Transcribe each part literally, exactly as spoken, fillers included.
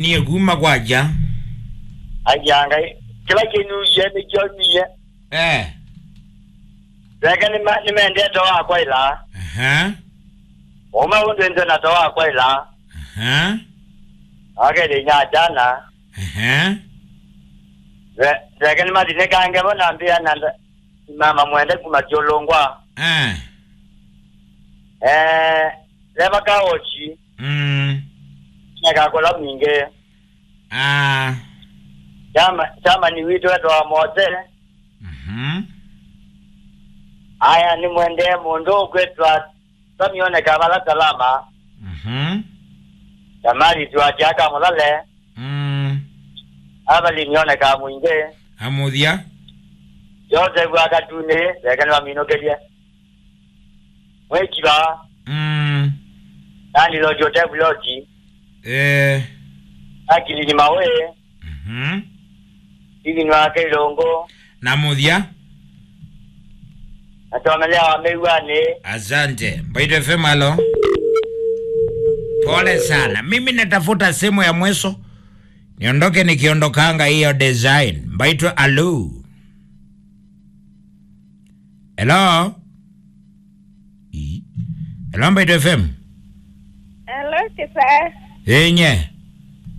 Niĩ kuma kwakya. Aya Ngai, kĩla kĩnyuie nĩkyo nyie. Eh. Reke nĩma-, nĩmendete wakwa ĩla. Aha. Ũme ũndũ nze na to wakwa ĩla. Aha. Akele inya jana. Aha. Re-, reke nĩmathinĩkange vo na mbĩa na nda-, mama mwende kuma kyũlũngwa. Eh. Eh, leva kaochi. Mm. Nekakola mwingĩ. Ah. Chama, chama ni witũ etwa Mose. Mhm. Aya, nĩmwendee mũndũ ũkwĩtwa Samione Kavala Salama. Mhm. Tamari Tuatia Kamũlale. Mm. Avalini One Kamwingĩ. Amũthya. Joseph Akatunĩ, reke nĩwaminũkĩlye. Mwĩkiva. Mm. Nani Lodge Hotel Lodge. Eh. Akilini Mawe. Mhm. Steven wa Kailongo. Na mũthya. Atomelea wa Meiwani. Asante. Mbaitũ F M, alo. Pole sana. Mimi natafuta simu ya mwisho. Niondoke nikiondokanga hiyo design. Mbaitũ, alo. Hello? Ii. Hello, Mbaitũ F M. Hello, Kĩsae. Ĩĩ, nye.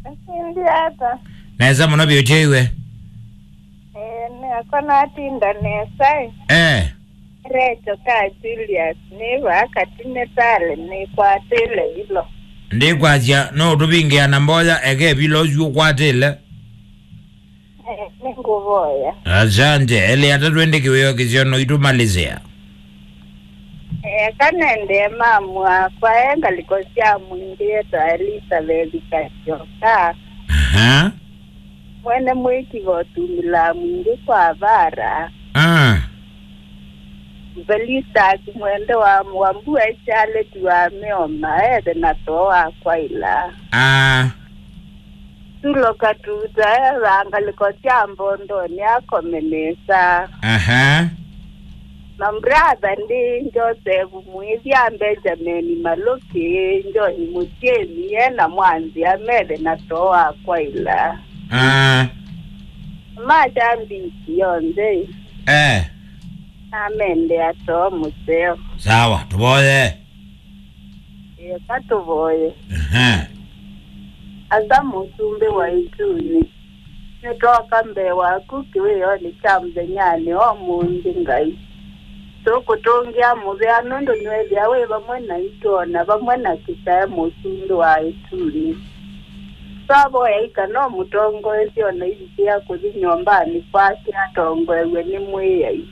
Ũsindi ata? Nesa mũno vyũ, tyo iwe? Eh, nĩakwa natinda nesa, ĩ. Eh. Recho ka Julius, nĩ vaa katine tale, nĩkwatĩle vilo. Ndikwasya, no ũtũvingĩa na mboya, eke vilo ũsu ũkwatĩle. Eh, nĩngũvoya. Asante. Elĩ atatũ ĩndĩ kĩwĩo kĩseo no itũmalizĩa. Eh, kanendee mamu wakwa e ngalĩko sya mwingĩ etwa Elizabeth Kasyoka. Aha. Mwene mwĩkiva ũtumĩlaa mwingĩ kwa vara. Ah. Felista Kimwende wa, wa Mbua Charlotte wa Mĩoma, ethe na too wa kwaila. Ah. Tulo Katuta, etha ngalĩko sya Mbondonĩ akome nesa. Aha. Na brother ndi Joseph Mwĩthya, Benjamin Malũkĩ, John Mũtiemi, e na Mwanzĩa, methe na too wa kwaila. Ah. Macha mbisi yonthe. Eh. Amendea too mũseo. Sawa, tũvoye. Eka tũvoye. Ehe. Asa mũsumbĩ wa ĩtunĩ, nĩtwoka mbee waku kĩwĩonĩ kya mũthenyanĩ wa ũmũnthĩ, Ngai. Tũkũtũngĩa mũvea nũndũ nĩwethĩa wĩ vamwe naitũ, o na vamwe na Kĩsae mũsumbĩ wa ĩtunĩ. Twavoya ika no mũtongoesye o na ivikĩa kũthi nyũmbanĩ kwake atongoew'e nĩ Mwĩai.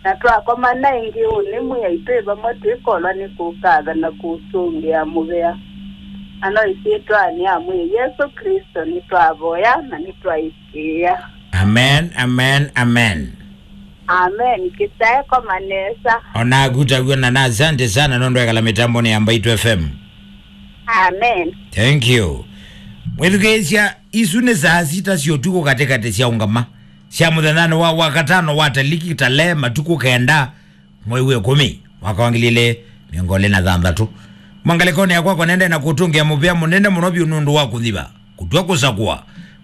Na twakomana ĩngĩ ũnĩ Mwĩai twĩ vamwe twĩkolwa nĩ kũkatha na kũtũngĩa mũvea. Na no ĩsyĩtwanĩ ya Mwĩai Yesũ Klĩsto nĩtwavoya na nĩtwaĩkĩĩa. Amen, amen, amen. Amen. Kĩsae koma nesa. Onaku taw'o na na asante sana nũndũ ekala mĩtambonĩ ya Mbaitũ F M. Amen. Thank you. Mwĩthukĩĩsya, isu nĩ saa sita sya ũtukũ katĩkatĩ sya ũngama sya mũthenyanĩ wa wakatano wa taliki tale matukũ kenda mwei wa ĩkũmi mwaka wa ngili ilĩ mĩongo ĩlĩ na thanthatũ. Mwangalĩkonĩ yakwa kwanende na kũtũngĩa mũvea mũnene mũno vyũ nũndũ wa kũthiva, kũtw'a kũsakũa,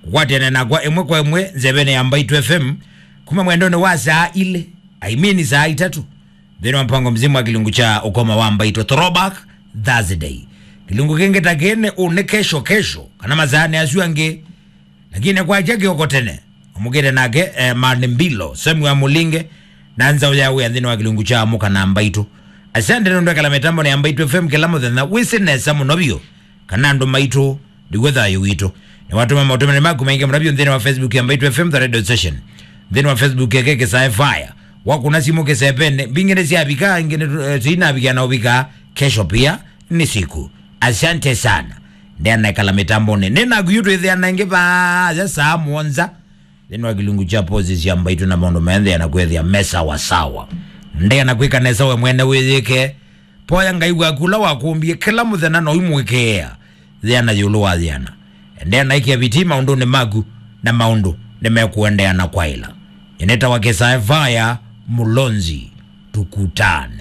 kũkwatĩana nakwa ĩmwe kwa ĩmwe nzevenĩ ya Mbaitũ F M kuma mwendonĩ wa saa ilĩ, I mean saa itatũ, nthĩnĩ wa mpango mzima wa kĩlungu kya ũkoma wa Mbaitũ Throwback Thursday. Kĩlungu kĩngĩ ta kĩĩ nĩ ũnĩ kesho kesho, kana masaanĩ asu angĩ. Lakini kwakya kĩoko tene, ũmũkĩte nake, eh, Mani Mbilo, Samuel Mũlinge, na nzaũ ya wĩa nthĩnĩ wa kĩlungu kya Amũka na Mbaitũ. Asante nũndũ ekala mĩtambonĩ ya Mbaitũ F M kĩla mũthenya, wĩsĩ nesa mũno vyũ kana andũ maitũ nĩw'o thayũ witũ. Nĩwatũma maũtũmani maku maingĩ mũno vyũ nthĩnĩ wa Facebook ya Mbaitũ F M The Radio Station, nthĩnĩ wa Facebook yake Kĩsae Fire. Wakũna simũ kĩsevenĩ, mbingĩ nĩsyavika, ingĩ nĩ, eh, tũinavikia na ũvika kesho pia ni siku. Asante sana. Ndeana ekala mĩtambonĩ. Nĩ naku yu twĩthĩana ĩngĩ vaa ya saa mũonza. Nthĩnĩ wa kĩlungu kya posi sya Mbaitũ na maũndũ maya ndeana kwĩthĩa me sawa sawa. Ndeana kwĩka nesa we mwene wĩyĩke. Poya Ngai waku ũla wakũmbie kĩla mũthenya na ũimũĩkĩĩa. Thĩana ĩũlũ wa thĩana. Ndeana ĩkĩa vitii maũndũnĩ maku na maũndũ nĩmekũendeana kwaĩla. Nĩnĩtawa Kĩsae Vaya Mũlonzi. Tukutane.